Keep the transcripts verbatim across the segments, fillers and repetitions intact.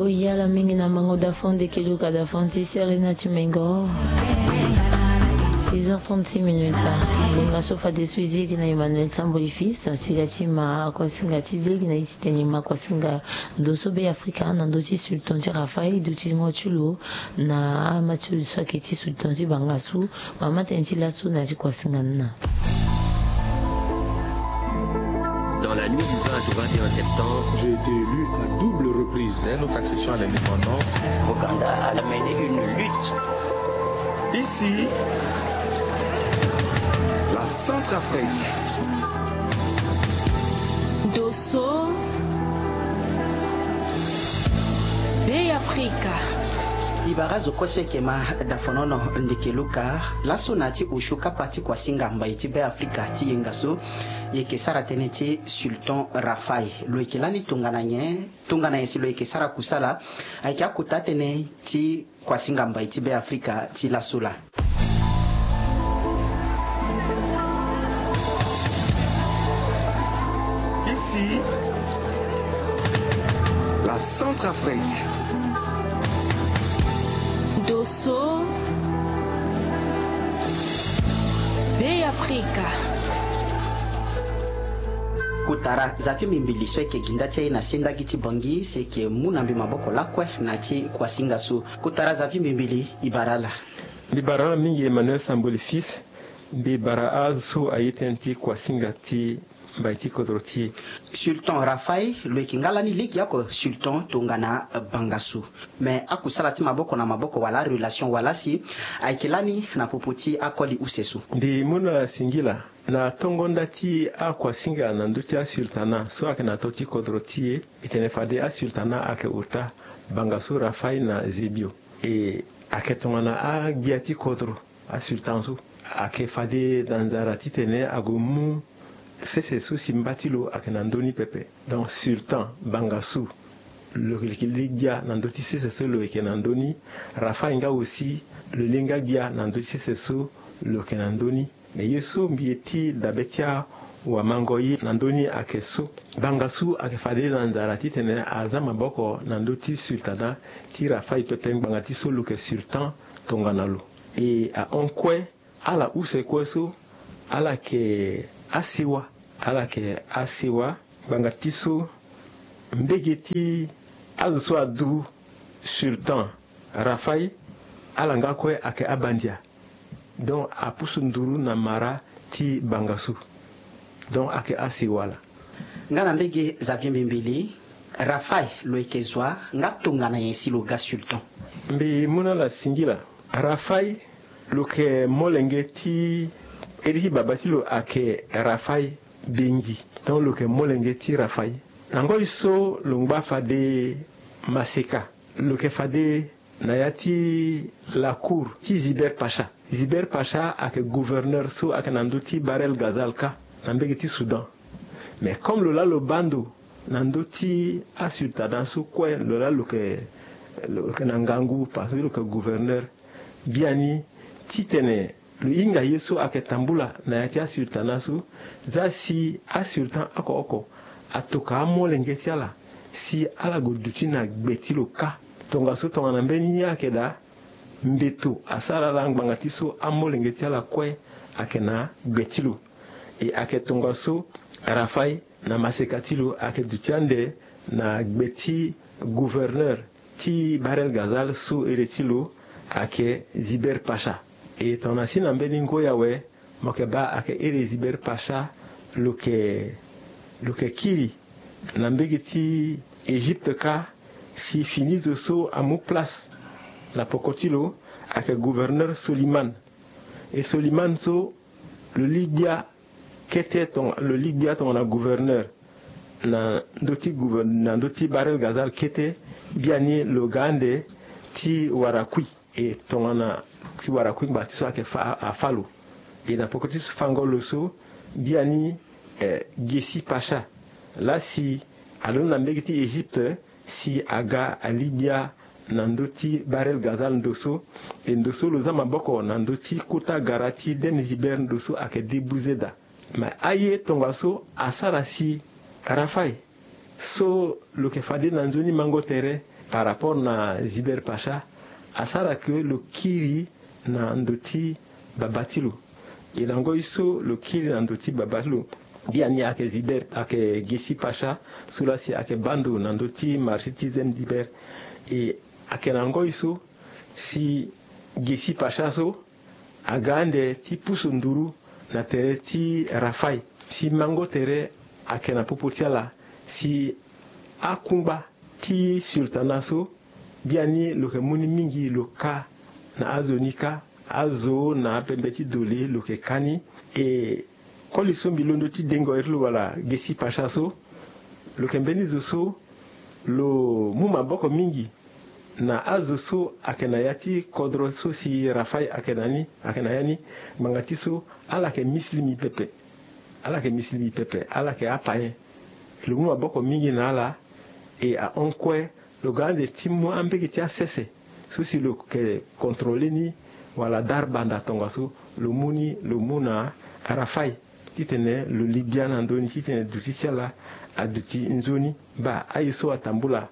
Oyala mingi na mango da fond de keluka da fond ti sere na ti mengo. Six heures trente-six minutes. Ngonga so fadeso e zi gi na Emmanuel Samboli Fils ti ga ti ma kuasinga ti zi gi na e ti tene ma kuasinga ndo so Be Afrika na ndö ti sultan ti Rafaï duti ngo ti lo na ama ti lo so ayeke ti sultan ti Bangassou. Mama tene ti laso na ti kuasinga ni na. Dans la nuit du vingt au vingt et un septembre, j'ai été élu à double reprise. Dès notre accession à l'indépendance, Boganda a mené une lutte. Ici, la Centrafrique. Dosso. Be Afrika. Ibara zo kue so eke ma dafonono ndeke luka laso na ti osio kapa ti kuasinga mbai ti Be Afrika ti yenga so. Yeke sara tënë ti sultan Rafaï. Lo yeke lani tongana nyen? Tongana nyen si lo yeke sara kusala? Ayeke akota tënë ti kuasinga mbai ti Be Afrika ti laso laa. Ici, la Centrafrique. Dosso. Be Afrika. Kotara Xavier Mbimbili so eke gi nda ti aye na sendagi ti Bangui si eke mu na mbi maboko lakue na ti kuasinga so. Kotara Xavier Mbimbili, ibara ala. Mbi bara ala mingi Emmanuel Samboli Fils. Mbi bara azo so aye tënë ti kuasinga ti mbai ti kodro ti e. Sultan Rafaï lo yeke nga lani legeoko sultan tongana Bangassou. Me akusala ti maboko na maboko wala arelation wala si ayeke lani na popo ti akoli use so. Mbi mu na ala singila na tongo nda ti akuasinga na ndö ti asultana so ayeke na ndö ti kodro ti e. Mbi tene fade asultana ayeke ota Bangassou, Rafaï na Zébio. E ayeke tongana agbia ti kodro. Asultan so ayeke fade na nzara titene ague mu sese so si mba ti lo ayeke na ndö ni pepe. Donc sultan Bangassou lo yeke li gbia na ndö ti sese so lo yeke na ndö ni. Rafaï nga aussi lo li nga gbia na ndö ti sese so lo yeke na ndö ni. Me ye so mbi ye ti dabe ti awamango ye na ndö ni ayeke so Bangassou ayeke fade na nzara titene aza maboko na ndö ti sultana ti Rafaï pepe ngbanga ti so lo yeke sultan tongana lo. E ahon kue ala use kue so ala yeke asewa. Ala yeke asewa ngbanga ti so mbege ti azo so aduru sultan Rafaï ala nga kue ayeke abandia. Donc apusu nduru na mara ti Bangassou. Donc ayeke asewa laa. Nga na mbege Xavier Mbimbili, Rafaï lo yeke zo wa nga tongana nyen si lo ga sultan? Mbi mu na ala singila. Rafaï lo yeke molenge ti iri ti baba ti lo ayeke Rafaï Bengui. Donc lo yeke molenge ti Rafaï. Na ngoi so lo ngba fade maseka lo yeke fade na ya ti la cour ti Zibert Pacha. Zibert Pacha ayeke gouverneur so ayeke na ndö ti Bahr el Ghazal kâ na mbege ti Soudan. Mais comme lo laa lo baa ndo na ndö ti asultana so kue lo laa lo yeke, lo yeke na ngangu parce que lo yeke gouverneur. Biani titene lo hinga ye so ayeke tambula na ya ti asultana so, za si asultan oko oko atoka amolenge ti ala si ala gue duti na gbe ti lo kâ. Tongaso tongana mbeni ye ayeke daa, mbeto asara ala ngbanga ti so amolenge ti ala kue ayeke na gbe ti lo. E ayeke tongaso Rafaï na maseka ti lo ayeke duti ande na gbe ti gouverneur ti Bahr el Ghazal so ere ti lo ayeke Zibert Pacha. E tongana si na mbeni ngoi awe mo yeke baa ayeke ere Zibert Pacha lo yeke, lo yeke kiri na mbege ti Égypte kâ si fini zo so amu place na poko ti lo ayeke gouverneur Soliman. E Soliman so lo li gbia kete tonga, lo li gbia tongana gouverneur na ndö ti gouver-, na ndö ti Bahr el Ghazal kete, biani lo ga ande ti wara kui. E tongana ti wara kui ngbanga ti so ayeke fa, afâ lo. E na poko ti so fango lo so, biani, eh, Gessi Pacha laa si alondo na mbege ti Égypte, si aga ali gbia na ndö ti Bahr el Ghazal ndo so. E ndo so lo za maboko na ndö ti kota gara ti Denzibert ndo so ayeke Debuzeda. Me aye tongaso asara si Rafaï so lo yeke fade na nzoni mango tere par rapport na Ziber Pacha, asara ke lo kiri na ndo ti baba ti lo. E na ngoi so lo kiri na ndo ti baba ti lo, biani ayeke Ziber, ayeke Gesi Pacha, so laa si ayeke baa ndo na ndo ti marché ti Zem Ziber. E ayeke na ngoi so si Gesi Pacha so aga ande ti pusu nduru na tere ti Rafai, si mango tere ayeke na popo ti ala, si akungba ti sultana so, biani lo yeke mu ni mingi lo ka na azo ni kâ, azo na apembe ti doli lo yeke ka ni. E koli so mbi londo ti dengo iri lo wala Gesi Pacha so, lo yeke mbeni zo so lo mu maboko mingi na azo so ayeke na ya ti kodro so si Rafai ayeke na ni, ayeke na ya ni. Ngbanga ti so ala yeke misilimi pepe. Ala yeke misilimi pepe, ala yeke apayen. Lo mu maboko mingi na ala. E ahon kue lo ga ande ti mu ambege ti asese so si lo yeke contrôler ni wala dara banda tongaso lo mu ni, lo mu na Rafai, titene lo li gbia na ndö ni, titene duti ti ala aduti nzoni. Baa aye so atambula,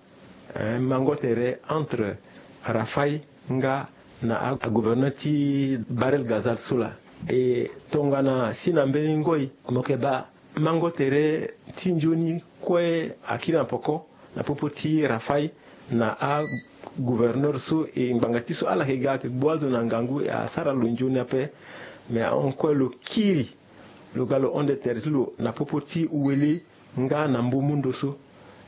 eh, mango tere entre Rafai nga na a, agouverneur ti Bahr el Ghazal so laa. E tongana si na mbeni ngoi mo yeke baa mango tere ti nzoni kue akiri na poko na popo ti Rafai na agouverneur so. E ngbanga ti so ala yeke ga ayeke gbu azo na ngangu, e asara lo nzoni ape. Me ahon kue lo kiri, lo ga lo hon ande tere ti lo na popo ti Ouélé nga na Mboumou ndo so.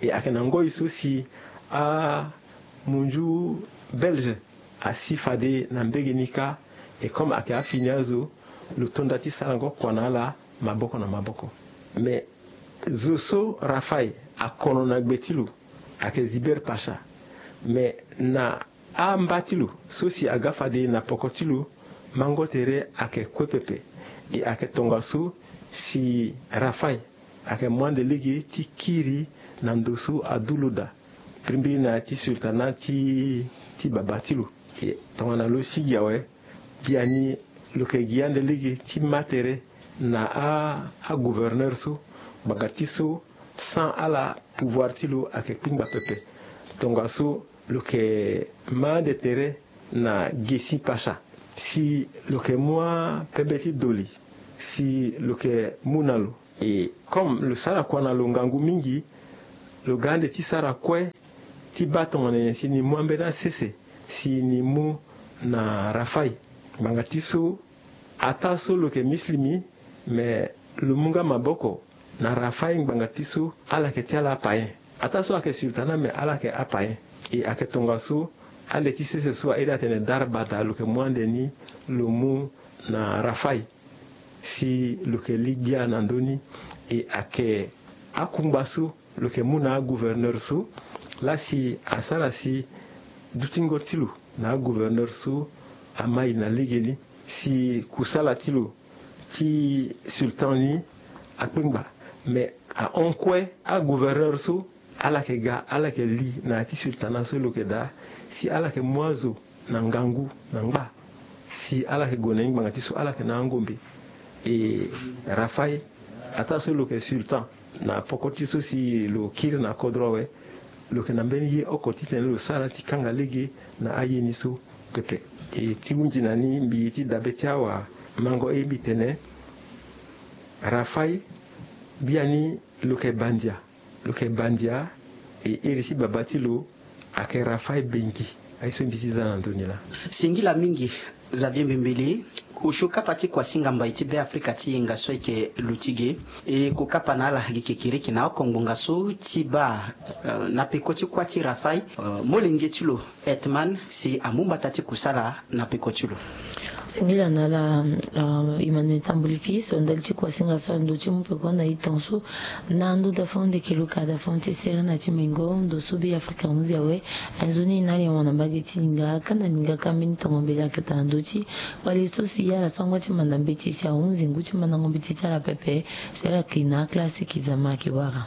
E ayeke na ngoi so si amunzu Belge asi fade na mbege ni kâ. E comme ayeke afini azo, lo to nda ti sarango kua na ala maboko na maboko. Me zo so Rafai akono na gbe ti lo ayeke Ziber Pacha. Me na amba ti lo so si aga fade na poko ti lo, mango tere ayeke kue pepe. E ayeke tongaso si Rafai ayeke mu ande lege ti kiri na ndo so adu lo daa, mbirimbiri na ya ti sultana ti, ti baba ti lo. E tongana lo sigi awe, biani lo yeke gi ande lege ti ma tere na a, agouverneur so, ngbanga ti so sans ala pouvoir ti lo ayeke kpingba pepe. Tongaso lo yeke ma ande tere na Gesi Pacha si lo yeke mu apembe ti doli si lo yeke mu na lo. E comme lo sara kua na lo ngangu mingi, lo ga ande ti sara kue ti baa tongana nyen si ni mu ambeni asese si ni mu na Rafai. Ngbanga ti so ataa so lo yeke misilimi, me lo mu nga maboko na Rafai ngbanga ti so ala yeke ti ala apayen. Ataa so ayeke sultana, me ala yeke apayen. E ayeke tongaso ande ti sese so airi atene dara bada lo yeke mu ande ni lo mu na Rafai si lo yeke li gbia na ndö ni. E ayeke akungba so lo yeke mu na agouverneur so laa si asara si dutingo ti lo na agouverneur so amai na legeni, si kusala ti lo ti sultan ni akpengba. Me ahon kue agouverneur so ala yeke ga, ala yeke li na ya ti sultana so lo yeke daa, si ala yeke mu azo na ngangu na ngba, si ala yeke gue na ni ngbanga ti so ala yeke na angombe. E Rafai, ataa so lo yeke sultan na poko ti so si lo kiri na kodro awe, lo yeke na mbeni ye oko titene lo sara ti kanga lege na aye ni so pepe. E ti hunzi na ni mbi ye ti dabe ti awamango e mbi tene, Rafai biani lo yeke bandia, lo yeke bandia. E iri ti baba ti lo ayeke Rafai Bengi. Aye so mbi ti za na ndö ni laa. Singila mingi Xavier Mbembele. Osio kapa ti kuasinga mbai ti Beafrika ti yenga so ayeke lo ti ge. E ko kapa na ala gi kekereke na oko ngbonga so ti baa, eh, na peko ti kuâ ti Rafai, eh, molenge ti lo Hetman si amu mbata ti kusala na peko ti lo. Singila na ala, ah, Emmanuel Tamboli Fils, ndali ti kuasinga so ando ti mu peko na e tongaso. Na ndo da fo ndeke lo ka da fo ti sere na ti mengo ndo so Beafrika ahunzi awe. Nzoni na ali awana mbage ti linga, kanda linga ka mbeni tongo mbele akata na ndo ti wali so si ala so angba ti manda mbeti si ahunzi ngu ti mandango mbeti ti ala pepe. Si ala ke na aklase ki zama ake wara.